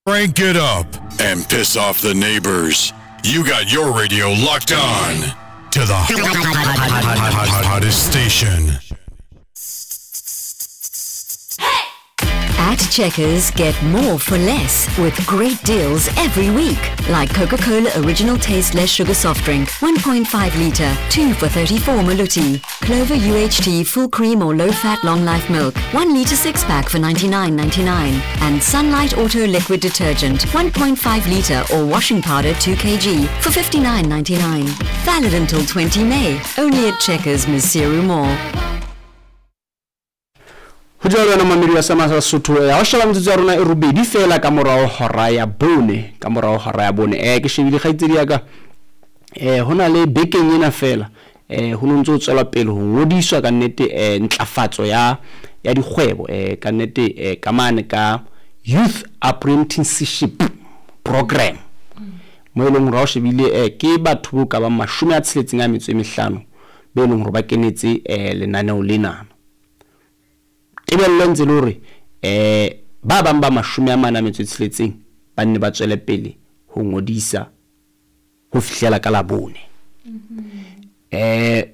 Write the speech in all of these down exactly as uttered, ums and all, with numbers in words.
Crank it up and piss off the neighbors. You got your radio locked on to the hottest station. At Checkers, get more for less with great deals every week. Like Coca-Cola Original Taste Less Sugar Soft Drink, one point five litre, two for thirty-four Maluti. Clover U H T Full Cream or Low Fat Long Life Milk, one litre six pack for ninety-nine ninety-nine. And Sunlight Auto Liquid Detergent, one point five litre or washing powder two kilograms for fifty-nine ninety-nine. Valid until twenty May, only at Checkers, Maseru Mall. Ho jwalo wena mamedi wa Sama sa Sesotho, eh, ha o sheba metsotso ya rona e robedi fela ka morao hora ya bone, ka morao hora ya bone. Eh, ke shebile kgaitsedi ya ka, eh, ho na le bekeng ena fela, eh, ho no ntso ho tswela pele ho ngodiswa ka nnete, eh, ntlafatso ya, ya dikgwebo, eh, ka nnete, eh, ka mane ka Youth Apprenticeship Program. Mo e leng hore ha o shebile, eh, ke batho bo ka bang mashome a tsheletseng a metso e mehlano be leng hore ba kenetse, eh, lenaneo lena. Tebello ntse le hore, eh, ba bang ba mashome a mane a metso e tsheletseng ba nne ba tswele pele ho ngodisa ho fihlela ka Labone. Eh,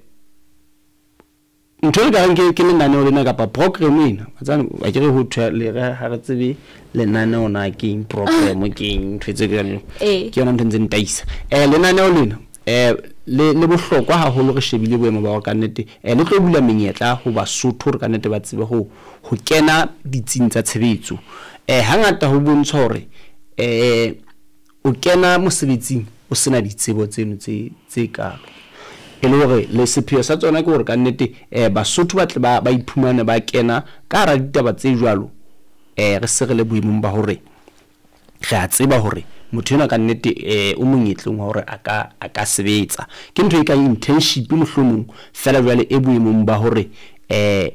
ntho e ka reng ke, ke lenaneo lena kapa program ena, wa tseba, wa ke re ho thwe le re ha re tsebe lenaneo na ke eng, program ke eng, ntho tse jwalo. Eh. Ke yona ntho e ntseng ntaisa. Eh, lenaneo lena, eh, le, le bohlokwa haholo re shebile boemo ba hore ka nnete, eh, le tlo bula menyetla ho Basotho hore ka nnete ba tsebe ho, ho kena ditsing tsa tshebetso. Eh, hangata ho bontshwa hore, eh, o kena mosebetsing o sena ditsebo tseno tse, tse kalo. E le hore le sepheo sa tsona ke hore ka nnete, eh, Basotho ba tle ba, ba iphumane ba kena ka hara ditaba tse jwalo, eh, re se re le boemong ba hore re a tseba hore motho enwa ka nnete, eh, o monyetleng wa hore a ka, a ka sebetsa. Ke ntho e kang internship mohlomong, fela jwale e boemong ba hore, eh,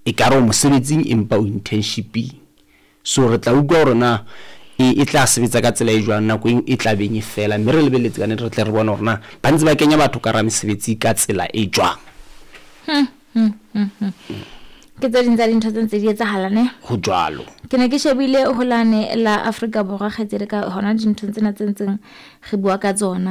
e ka re o mosebetsing empa o internshiping. So re tla utlwa hore na e, e tla sebetsa ka tsela e jwang nako e, e tla beng e fela, mme re lebelletse ka nnete re tle re bone hore na ba ntse ba kenya batho ka hara mesebetsi ka tsela e jwang. Hmm, hmm, hmm, hmm. Ke tse ding tsa dintho tse ntse di etsahala, ne? Ho jwalo. Ke ne ke shebile holane la Afrika Borwa kgaitsedi ka hona dinthong tsena tse ntseng re bua ka tsona.